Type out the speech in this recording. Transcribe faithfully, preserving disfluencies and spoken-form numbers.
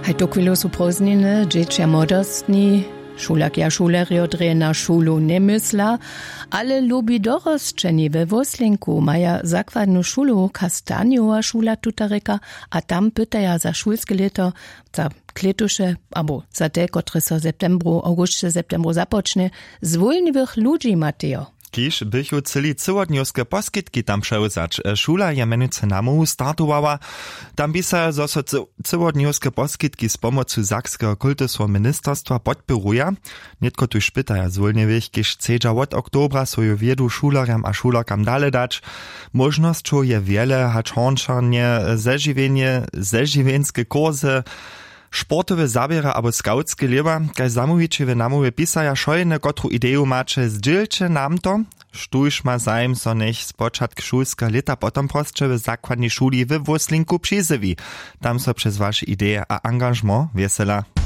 Haj tuchwilu su prózdniny, dźěći a młodostni, šulerki a šulerjo drje na šulu njemysla, ale lubi dorosćeni we wóslenku maja zakładnu šulu, kastanjowa šula tutarjeka, a tam pytaja za šulske lěto, za klětuše abo za te, kotrež so w septembru awgusće septembru započnje, zwólniwych ludźi matejo. Kiž běchu chcyli cyłodnjowske poskitki tam přewzać. Šula je mjenujcy namołwu startowała. Tam pisaja zo so cyłodnjowske poskitki z pomocu sakskeho kultusneho ministerstwa podpěruja. Nětko tuž pytaja zwólnjewych, kiž chcedźa wot oktobra swoju wědu šulerjam a šulerkam dale dać. Móžnosćow je wjele, hač hornčarnje, zežiwjenje, zežiwjenske kursy, sportowe zaběra abo skawtske lěba. Kaž zamołwići w namołwje pisaja wšojene kotru ideju maće, zdźělće nam to. Štóž ma zajim, so njech spočatk šulskeho lěta potom prosće w zakładnej šuli we wóslinku přizjewi. Tam so přez waše ideje a angažement wjesela.